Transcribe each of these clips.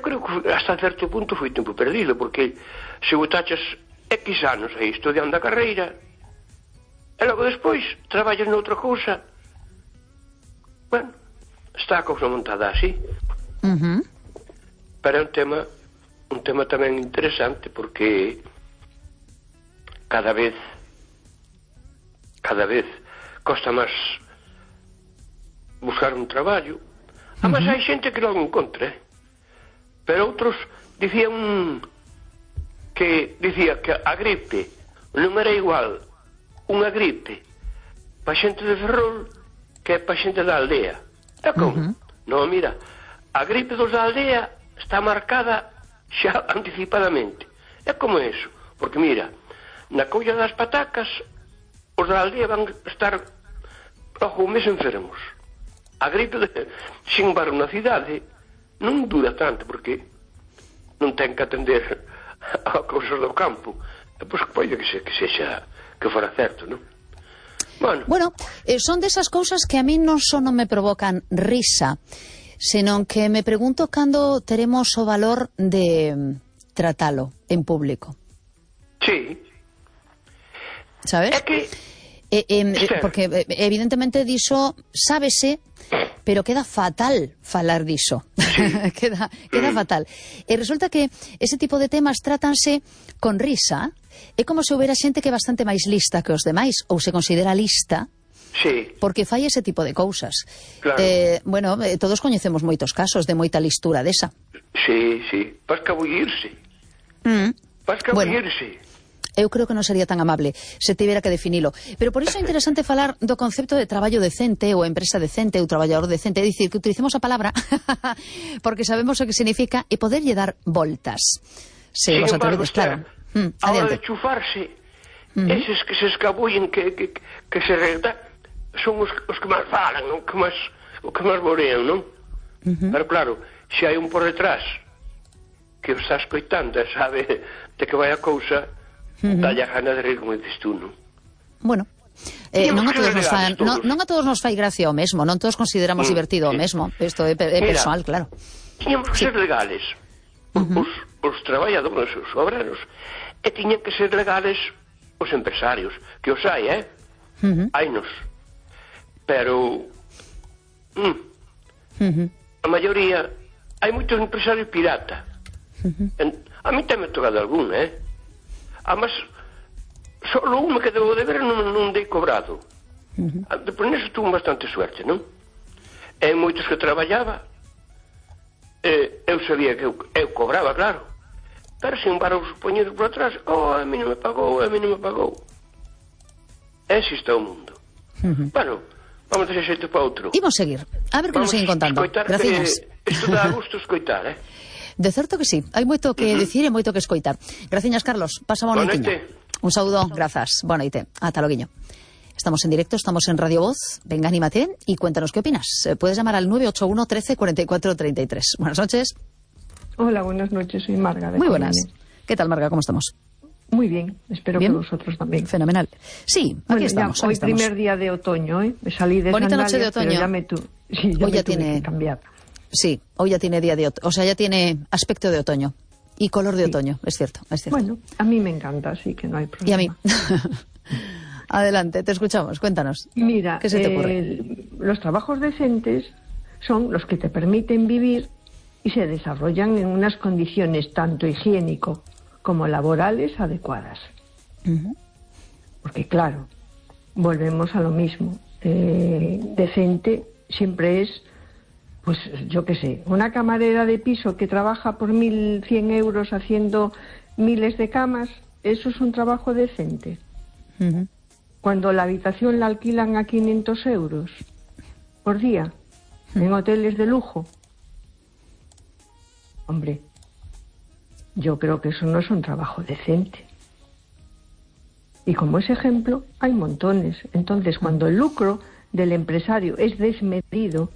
creo que hasta certo punto foi tempo perdido, porque se botaches X anos aí estudiando a carreira e logo despois traballas noutra cousa, bueno, está a cousa montada así. Pero é un tema tamén interesante, porque cada vez costa máis buscar un traballo. Además hai xente que logo encontra, pero outros dicía que a gripe non era igual unha gripe pa xente de Ferrol que pa xente da aldea. É como? Non, mira, a gripe dos da aldea está marcada xa anticipadamente. É como eso, porque mira, na colla das patacas os da aldea van estar logo un mes enfermos. A gripe, sin embargo, na cidade non dura tanto, porque non ten que atender a cousas do campo. Pois pode que sexa que fora certo, non? Bueno, son desas cousas que a mí non só non me provocan risa, senón que me pregunto cando teremos o valor de tratalo en público. Sí. Sabes? É que... porque evidentemente diso sábese, pero queda fatal falar diso. Sí. queda fatal. E resulta que ese tipo de temas trátanse con risa. É como se houbera xente que é bastante máis lista que os demais, ou se considera lista, sí, porque fai ese tipo de cousas. Claro. Bueno, todos coñecemos moitos casos de moita listura desa. Sí, sí. Vas cabullirse. Bueno, eu creo que non sería tan amable se tivera que definilo. Pero por iso é interesante falar do concepto de traballo decente ou empresa decente ou traballador decente. É dicir, que utilicemos a palabra porque sabemos o que significa e poderlle dar voltas. Se vos atrevedes, claro. A hora de chufarse, eses que se escabullen, que se redan, son os que máis falan, non? O que máis borean, non? Pero claro, se hai un por detrás que o está escoitando e sabe de que vai a cousa, dalle a gana de rir, como dices tú, non? Bueno, non a todos nos fai gracia o mesmo, non todos consideramos divertido o mesmo. Isto é personal, claro. Tiñamos que ser legales os traballadores, os obreros, e tiñan que ser legales os empresarios, que os hai, hainos, pero a maioría hai moitos empresarios pirata. A mí tamén me tocado algún, además solo un que debo de ver non dei cobrado. Por neso tuve bastante suerte, non? E moitos que traballaba, eu sabía que eu cobraba, claro, pero sin embargo os poñeros por atrás, a mí non me pagou, ese está o mundo. Bueno, vamos a deixar xeito para outro. Imos seguir, a ver que nos siguen contando. Gracias. Isto dá gusto escoitar, De certo que sí, hai moito que dicir e moito que escoitar. Graciñas, Carlos, pasa boa noitiña. Un saúdo, grazas, boa noite, ata loguiño. Estamos en directo, estamos en Radio Voz. Venga, anímate y cuéntanos qué opinas. Puedes llamar al 981 13 44 33. Buenas noches. Hola, buenas noches, soy Marga. Muy buenas. ¿Qué tal, Marga? ¿Cómo estamos? Muy bien, espero que vosotros también. Fenomenal. Sí, aquí estamos. Hoy primer día de otoño, Me salí de bonita noche de otoño. Ya me hoy ya tiene que cambiar. Sí, hoy ya tiene día de otoño, o sea, ya tiene aspecto de otoño y color de otoño, es cierto, es cierto. Bueno, a mí me encanta, así que no hay problema. Y a mí. Adelante, te escuchamos, cuéntanos. Mira, ¿qué se te ocurre? Los trabajos decentes son los que te permiten vivir y se desarrollan en unas condiciones tanto higiénico como laborales adecuadas. Porque claro, volvemos a lo mismo. Decente siempre es, pues yo qué sé, una camarera de piso que trabaja por 1.100 euros haciendo miles de camas, ¿eso es un trabajo decente? Cuando la habitación la alquilan a 500 euros por día, en hoteles de lujo. Hombre, yo creo que eso no es un trabajo decente. Y como ese ejemplo, hay montones. Entonces, cuando el lucro del empresario es desmedido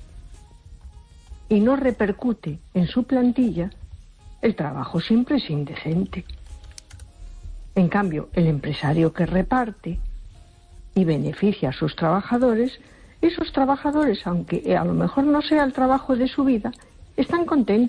y no repercute en su plantilla, el trabajo siempre es indecente. En cambio, el empresario que reparte y beneficia a sus trabajadores, esos trabajadores, aunque a lo mejor no sea el trabajo de su vida, están contentos.